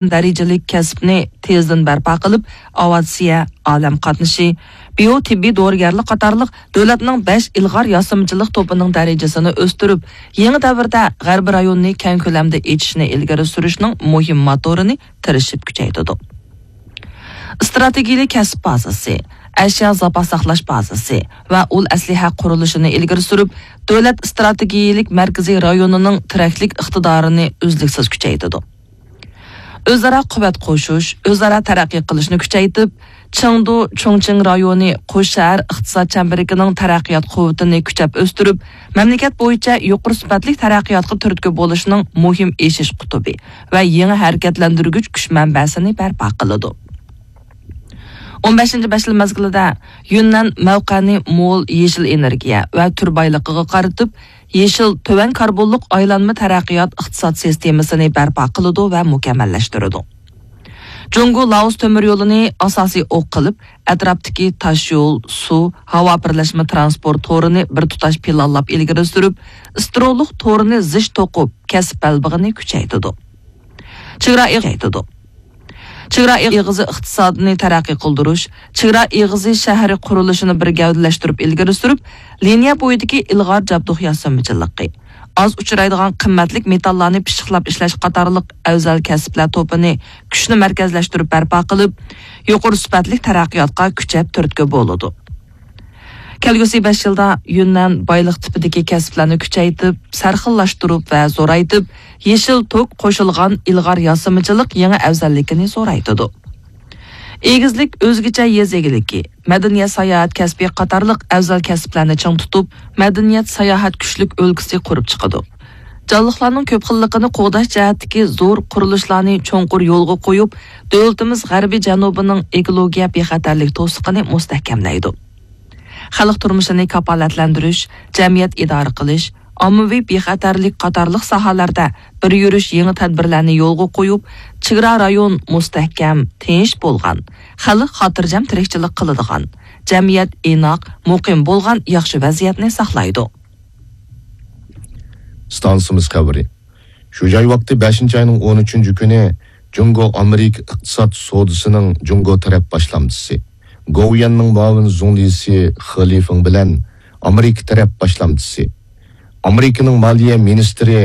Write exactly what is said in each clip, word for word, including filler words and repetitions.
دەرىجىلىك كەسىپنى تېزدىن بەرپا قىلىپ، ئاۋىئاتسىيە، ئالەم قاتنىشى، بىيو تېببىي دورىگەرلىك قاتارلىق دۆلەتنىڭ بەش ئىلغار ياسىمىچىلىق توپىنىڭ دەرىجىسىنى ئۆستۈرۈپ، يېڭى دەۋردە غەربىي رايوننى كەڭ كۆلەمدە ئېچىشنى ئىلگىرى سۈرۈشنىڭ مۇھىم موتورىنى تىرىشىپ كۈچەيتىدۇ. ئىستراتېگىيەلىك كەسىپ بازىسى، ئەشيا زاپاس ساقلاش بازىسى ۋە ئۇل ئەسلىھە قۇرۇلۇشىنى ئىلگىرى سۈرۈپ، دۆلەت ئىستراتېگىيەلىك مەركىزىي رايونىنىڭ تىرەكلىك ئىقتىدارىنى ئۈزلۈكسىز كۈچەيتىدۇ. ئۆزئارا قۇۋۋەت قوشۇش، ئۆزئارا تەرەققىي قىلىشنى كۈچەيتىپ، چېڭدۇ، چۇڭچىڭ رايونى قوش شەھەر ئىقتىساد چەمبىرىكىنىڭ تەرەققىيات قۇۋۋىتىنى كۈچەپ ئۆستۈرۈپ، مەملىكەت بويىچە يۇقىرى سۈپەتلىك تەرەققىياتقا تۈرتكە بولۇشنىڭ مۇھىم ئېشىش قۇتۇپى ۋە يېڭى ھەرىكەتلەندۈرگۈچ كۈچ مەنبەسىنى بەرپا قىلىدۇ. ئون بەشىنچى بەش يىل مەزگىلىدە يۈننەن مەۋقەنى مول يېشىل ئېنېرگىيە ۋە تۈر بايلىقىغا قارىتىپ، يېشىل، تۆۋەن كاربونلۇق ئايلانما تەرەققىيات ئىقتىساد سىستېمىسىنى بەرپا قىلىدۇ ۋە مۇكەممەللەشتۈرىدۇ. جۇڭگو لائوس تۆمۈر يولىنى ئاساسىي ئوق قىلىپ، ئەتراپتىكى تاشيول، سۇ، ھاۋا بىرلەشمە تىرانسپورت تورىنى بىر تۇتاش پىلانلاپ ئىلگىرى سۈرۈپ، ئىسترولۇق تورىنى زىچ توقۇپ، كەسىپ بەلبېغىنى كۈچەيتىدۇ. چېگرا ئېغىزى، چېگرا ئېغىزى ئىقتىسادىنى تەرەققىي قىلدۇرۇش، چېگرا ئېغىزى شەھىرى قۇرۇلۇشىنى بىر گەۋدىلەشتۈرۈپ ئىلگىرى سۈرۈپ، لىنىيە بويىدىكى ئىلغار جابدۇق ياسىمىچىلىقى، ئاز ئۇچرايدىغان قىممەتلىك مېتاللارنى پىششىقلاپ ئىشلەش قاتارلىق ئەۋزەل كەسىپلەر توپىنى كۈچنى مەركەزلەشتۈرۈپ بەرپا قىلىپ، يۇقىرى سۈپەتلىك تەرەققىياتقا كۈچەپ تۈرتكە بولىدۇ. كەلگۈسى بەش يىلدا يۈننەن بايلىق تىپىدىكى كەسىپلەرنى كۈچەيتىپ، سەرخىللاشتۇرۇپ ۋە زورايتىپ، يېشىل توك قوشۇلغان ئىلغار ياسىمىچىلىق يېڭى ئەۋزەللىكىنى زورايتىدۇ. ئېگىزلىك ئۆزگىچە يېزا ئىگىلىكى، مەدەنىيەت ساياھەت كەسپى قاتارلىق ئەۋزەل كەسىپلەرنى چىڭ تۇتۇپ، مەدەنىيەت ساياھەت كۈچلۈك ئۆلكىسى قۇرۇپ چىقىدۇ. جانلىقلارنىڭ كۆپ خىللىقىنى قوغداش جەھەتتىكى زور قۇرۇلۇشلارنى چوڭقۇر يولغا قويۇپ، دۆلىتىمىز غەربىي جەنۇبىنىڭ ئېكولوگىيە بىخەتەرلىك توسۇقىنى مۇستەھكەملەيدۇ. خەلق تۇرمۇشىنى كاپالەتلەندۈرۈش، جەمئىيەت ئىدارە قىلىش، ئاممىۋى بىخەتەرلىك قاتارلىق ساھەلەردە بىر يۈرۈش يېڭى تەدبىرلەرنى يولغا قويۇپ، چېگرا رايون مۇستەھكەم، تىنچ بولغان، خەلق خاتىرجەم تىرىكچىلىك قىلىدىغان، جەمئىيەت ئىناق، مۇقىم بولغان ياخشى ۋەزىيەتنى ساقلايدۇ. ئىستانسىمىز خەۋىرى. شۇ جاي ۋاقتى بەشىنچى ئاينىڭ ئون ئۈچىنچى كۈنى جۇڭگو ئامېرىكا ئىقتىساد سودىسىنىڭ جۇڭگو تەرەپ باشلامچىسى، گوۋۇيۈەننىڭ مۇئاۋىن زۇڭلىسى خې لىفېڭ بىلەن ئامېرىكا تەرەپ باشلامچىسى، ئامېرىكىنىڭ مالىيە مىنىستىرى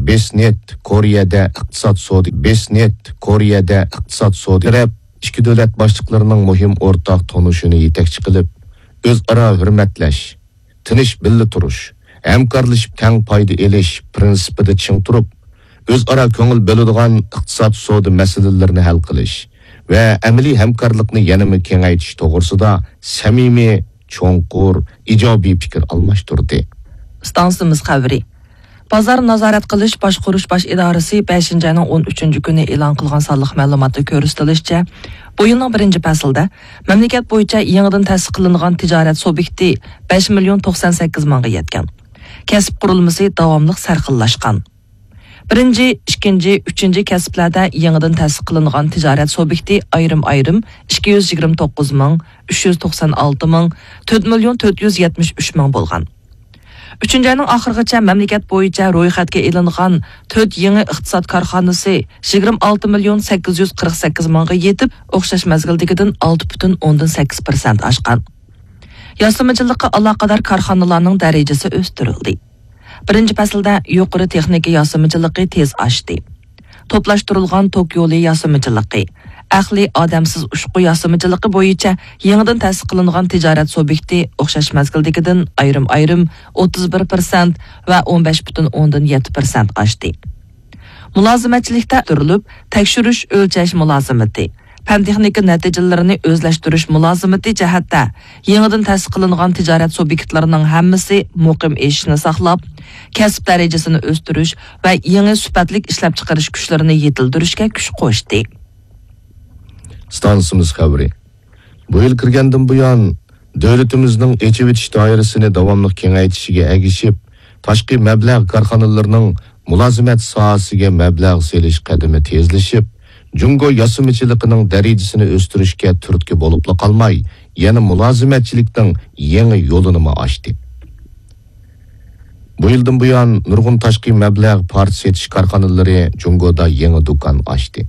بېسنېت كورېيەدە ئىقتىساد سودى، بېسنېت كورېيەدە ئىقتىساد سودى تەرەپ ئىككى دۆلەت باشلىقلىرىنىڭ مۇھىم ئورتاق تونۇشىنى يېتەكچى قىلىپ، ئۆزئارا ھۆرمەتلەش، تىنچ بىللە تۇرۇش، ھەمكارلىشىپ تەڭ پايدا ئېلىش پىرىنسىپىدا چىڭ تۇرۇپ، ئۆزئارا كۆڭۈل بۆلىدىغان ئىقتىساد سودا مەسىلىلىرىنى ھەل قىلىش ۋە ئەمەلىي ھەمكارلىقنى يەنىمۇ كېڭەيتىش توغرىسىدا سەمىمىي، چوڭقۇر، ئىجابىي پىكىر ئالماشتۇردى. ئىستانسىمىز خەۋىرى. بازار نازارەت قىلىش باشقۇرۇش باش ئىدارىسى بەشىنچى ئاينىڭ ئون ئۈچىنچى كۈنى ئېلان قىلغان سانلىق مەلۇماتتا كۆرسىتىلىشىچە، بۇ يىلنىڭ بىرىنچى پەسلىدە مەملىكەت بويىچە يېڭىدىن تەسىس قىلىنغان تىجارەت سۇبيېكتى بەش مىليون توقسان سەككىز مىڭغا يەتكەن. كەسىپ قۇرۇلمىسى داۋاملىق سەرخىللاشقان. بىرىنچى، ئىككىنچى، ئۈچىنچى كەسىپلەردە يېڭىدىن تەسىس قىلىنغان تىجارەت سۇبيېكتى ئايرىم-ئايرىم ئىككى يۈز يىگىرمە توققۇز مىڭ، ئۈچ يۈز توقسان ئالتە مىڭ، تۆت مىليون تۆت يۈز يەتمىش ئۈچ مىڭ بولغان. ئۈچىنچى ئاينىڭ ئاخىرىغىچە مەملىكەت بويىچە رويخەتكە ئېلىنغان تۆت يېڭى ئىقتىساد كارخانىسى يىگىرمە ئالتە مىليون سەككىز يۈز قىرىق سەككىز مىڭغا يېتىپ، ئوخشاش مەزگىلدىكىدىن ئالتە پۈتۈن ئوندىن سەككىز پىرسەنت ئاشقان. ياسىمىچىلىققا ئالاقىدار كارخانىلارنىڭ دەرىجىسى ئۆستۈرۈلدى. بىرىنچى پەسىلدە يۇقىرى تېخنىكا ياسىمىچىلىقى تېز ئاشتى. توپلاشتۇرۇلغان توك يولى ياسىمىچىلىقى، ئەقلىي ئادەمسىز ئۇچقۇ ياسىمىچىلىقى بويىچە يېڭىدىن تەسىس قىلىنغان تىجارەت سۇبيېكتى ئوخشاش مەزگىلدىكىدىن ئايرىم-ئايرىم ئوتتۇز بىر پىرسەنت ۋە ئون بەش پۈتۈن ئوندىن يەتتە پىرسەنت ئاشتى. مۇلازىمەتچىلىكتە ئۆستۈرۈلۈپ، تەكشۈرۈش ئۆلچەش مۇلازىمىتى، پەن-تېخنىكا نەتىجىلىرىنى ئۆزلەشتۈرۈش مۇلازىمىتى جەھەتتە يېڭىدىن تەسىس قىلىنغان تىجارەت سۇبيېكتلىرىنىڭ ھەممىسى مۇقىم ئېشىشنى ساقلاپ، كەسىپ دەرىجىسىنى ئۆستۈرۈش ۋە يېڭى سۈپەتلىك ئىشلەپچىقىرىش كۈچلىرىنى يېتىلدۈرۈشكە كۈچ قوشتى. ئىستانسىمىز خەۋىرى. بۇ يىل كىرگەندىن بۇيان، دۆلىتىمىزنىڭ ئېچىۋېتىش دائىرىسىنى داۋاملىق كېڭەيتىشىگە ئەگىشىپ، تاشقى مەبلەغ كارخانىلىرىنىڭ مۇلازىمەت ساھەسىگە مەبلەغ سېلىش قەدىمى تېزلىشىپ، جۇڭگو ياسىمىچىلىقىنىڭ دەرىجىسىنى ئۆستۈرۈشكە تۈرتكە بولۇپلا قالماي، يەنە مۇلازىمەتچىلىكنىڭ يېڭى يولىنىمۇ ئاچتى. بۇ يىلدىن بۇيان، نۇرغۇن تاشقى مەبلەغ پارچە سېتىش كارخانىلىرى جۇڭگودا يېڭى دۇكان ئاچتى.